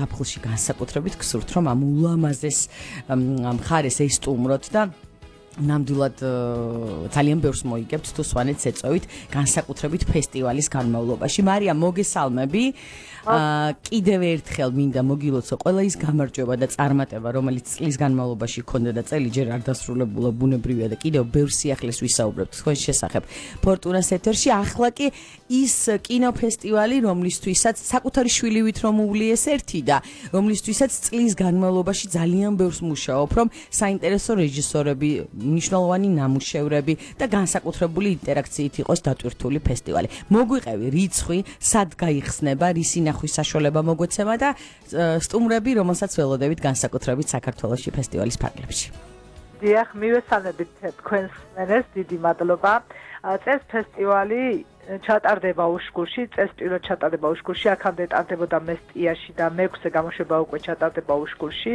ზაფხულში განსაკუთრებით გსურთ, რომ ამ ულამაზეს მხარეს ესტუმროთ და ნამდვილად ძალიან ბევრს მოიგებთ თუ სვანეთს ეწევით განსაკუთრებით ფესტივალის განმავლობაში. მარიამ, მოგესალმები. კიდევ ერთხელ მინდა მოგილოცო ყველა ის გამარჯვება და წარმატება, რომელიც წლის განმავლობაში ჰქონდა და წელი ჯერ არ დასრულებულა, ბუნებრივია და კიდევ ბევრ სიახლეს ვისაუბრებთ თქვენს შესახებ. ფორტუნას ეთერში ახლა კი ის კინოფესტივალი, რომლისთვისაც საკუთარი შვილივით რომ უვლიეს ერთი და რომლისთვისაც წლის განმავლობაში ძალიან ბევრს მუშაობ, რომ საინტერესო რეჟისორები, მნიშვნელოვანი ნამუშევრები და განსაკუთრებული ინტერაქციით იყოს დატვირთული ფესტივალი. მოგვიყევი რიცხვი, სად გაიხსნება, რისი ნახვის საშუალება მოგვეცემა და სტუმრები, რომელსაც ველოდებით განსაკუთრებით საქართველოში ფესტივალის ფარგლებში. დიახ, მივესალმებით თქვენს მენეს, დიდი მადლობა. წეს ფესტივალი ჩატარდება უშგურში, წეს პირველად ჩატარდება უშგურში, აქამდე ტარდებოდა მესტიაში და მეექვსე გამოშვება უკვე ჩატარდება უშგურში,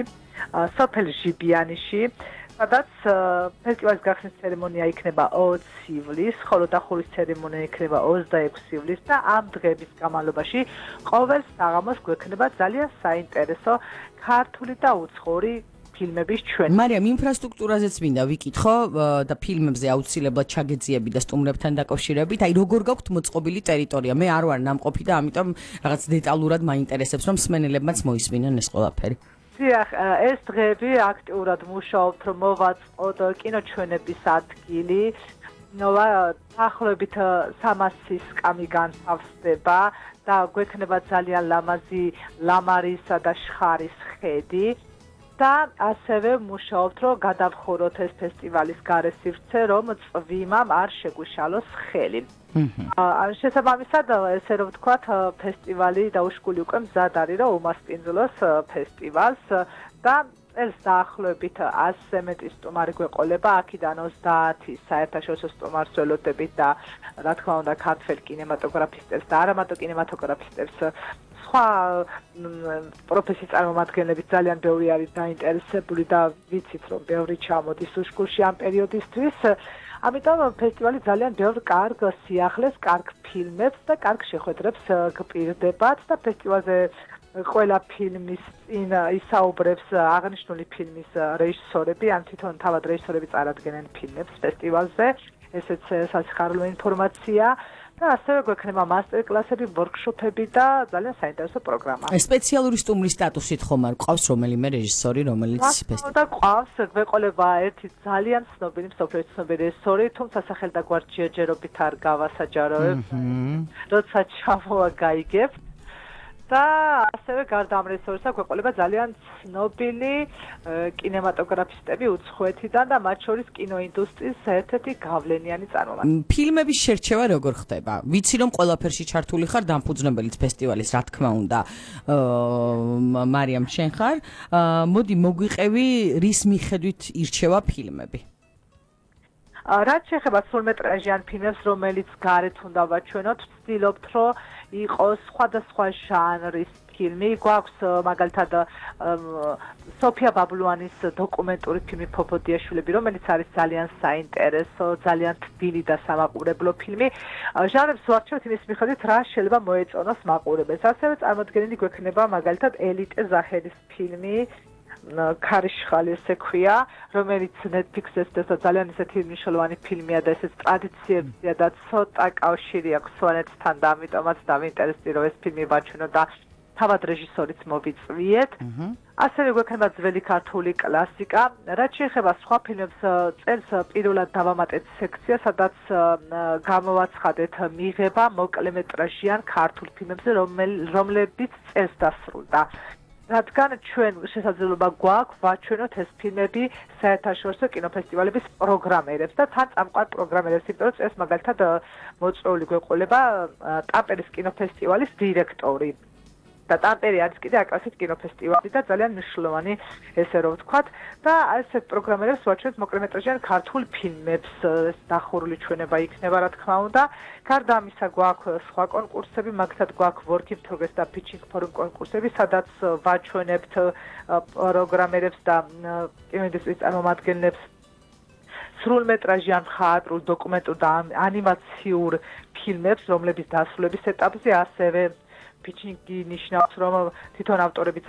სოფელ ჟიბიანიში. სადაც ფესტივალის გახსნის ცერემონია იქნება 20 ივლისს, ხოლო დახურვის ცერემონია იქნება 26 ივლისს და ამ დღეების განმავლობაში ყოველ საღამოს გვექნება ძალიან საინტერესო ქართული და უცხოური ფილმების ჩვენება. მარიამ, ინფრასტრუქტურაზეც მინდა ვიკითხო და ფილმებზე აუცილებლად ჩაგეძიები და სტუმრებთან დაკავშირებით, აი როგორ გაქვთ მოწყობილი ტერიტორია? მე არ ვარ ნამყოფი და ამიტომ რაღაც დეტალურად მაინტერესებს, რომ მსმენელებმაც მოისმინონ ეს ყველაფერი. დიახ, ეს დღეები აქტიურად მუშაობთ, რომ მოვაწყოთ კინოჩვენების ადგილი. დაახლოებით 300 სკამი განთავსდება და გვექნება ძალიან ლამაზი ლამარისა და შხარის ხედი. და ასევე მუშაობთ, რომ გადავხუროთ ეს ფესტივალის გარესივრცე, რომ წვიმამ არ შეგვიშალოს ხელი. შესაბამისად, ესე რომ ვთქვათ, ფესტივალი დაუშგული უკვე მზად არის, რომ უმასპინძლოს ფესტივალს და წელს დაახლოებით 100-ზე მეტი სტუმარი გვეყოლება, აქედან 30 საერთაშორისო სტუმარს ველოდებით და რა თქმა უნდა, ქართველ კინემატოგრაფისტებს და არამატო კინემატოგრაფისტებს სხვა პროფესიის წარმომადგენლებით ძალიან ბევრი არის დაინტერესებული და ვიცით, რომ ბევრი ჩამოდის უშგურში ამ პერიოდისთვის. ამიტომ ფესტივალი ძალიან ბევრ კარგ სიახლეს, კარგ ფილმებს და კარგ შეხვედრებს გპირდებათ და ფესტივალზე ყველა ფილმის წინ ისაუბრებს აღნიშნული ფილმის რეჟისორები, ან თვითონ თავად რეჟისორები წარადგენენ ფილმებს ფესტივალზე. ესეც სასიხარულო ინფორმაცია. და ასევე გვექნება მასტერკლასები, ვორქშოპები და ძალიან საინტერესო პროგრამა. სპეციალური სტუმრის სტატუსით ხომ არ ყავს რომელიმე რეჟისორი, რომელიც ფესტივალში და ყავს, გვეყოლება ერთი ძალიან ცნობილი, მსოფლიოს ცნობილი რეჟისორი, თუმცა სახელ და გვარჯიაჯერობით არ გავასაჯაროებ. როცა ჩამოვა გაიგებ. და ასევე გარდა ამ რეჟისორისა გვეყოლება ძალიან ცნობილი კინემატოგრაფისტები უცხოეთიდან და მათ შორის კინოინდუსტრიის ერთ-ერთი გავლენიანი წარმომადგენლები. ფილმების შერჩევა როგორ ხდება? ვიცი რომ ყველაფერში ჩართული ხარ, დამფუძნებელიც ფესტივალის, რა თქმა უნდა, მარიამ შენ ხარ. მოდი მოგვიყევი, რის მიხედვით ირჩევა ფილმები? რაც შეეხება სრულმეტრაჟიან ფილმებს, რომელიც გარეთ უნდა ვაჩვენოთ, ვცდილობთ, რომ იყოს სხვადასხვა ჟანრის ფილმი. გვაქვს მაგალითად სოფია ბაბლუანის დოკუმენტური ფილმი „ფოფოდიაშვილები“, რომელიც არის ძალიან საინტერესო, ძალიან თბილი და სამაყურებლო ფილმი. ჟანრებს ვარჩევთ იმის მიხედვით, რა შეიძლება მოეწონოს მაყურებელს. ასევე წარმოდგენილი გვექნება მაგალითად ელიტე ზაჰერის ფილმი ქარიშხალი ესე ქვია, რომელიც Netflix-ზე და ძალიან ისეთი მნიშვნელოვანი ფილმია და ესეც ტრადიციებზეა და ცოტა კავშირი აქვს სვანეთთან და ამიტომაც დავინტერესდი, რომ ეს ფილმი ვაჩვენო და თავად რეჟისორიც მოვიწვიეთ. ასევე გვექნება ძველი ქართული კლასიკა. რაც შეეხება სხვა ფილმებს, წელს პირველად დავამატეთ სექცია, სადაც გამოვაცხადეთ მიღება მოკლემეტრაჟიან ქართულ ფილმებზე, რომლებიც წელს დასრულდა. რადგან ჩვენ შესაძლებლობა გვაქვს ვაჩვენოთ ეს ფილმები საერთაშორისო კინოფესტივალების პროგრამერებს და თან წამყვან პროგრამერებს, იმიტომ რომ ეს მაგალითად მოწვეული გვეყოლება ტამპერის კინოფესტივალის დირექტორი. და ტამპერი არის კიდე აკრასის კინოფესტივალი და ძალიან მნიშვნელოვანი, ესე რომ ვთქვათ, და ასეთ პროგრამერებს ვაჩვენებთ მოკლემეტრაჟიან ქართულ ფილმებს, დახურული ჩვენება იქნება, რა თქმა უნდა. გარდა ამისა გვაქვს სხვა კონკურსები, მაგალითად გვაქვს Work in Progress და Pitching Forum კონკურსები, სადაც ვაჩვენებთ პროგრამერებს და კინოინდუსტრიის წარმომადგენლებს სრულმეტრაჟიან მხატვრულ, დოკუმენტურ და ანიმაციურ ფილმებს, რომლების დასრულების ეტაპზე ასევე pitching ნიშნავს, რომ თვითონ ავტორები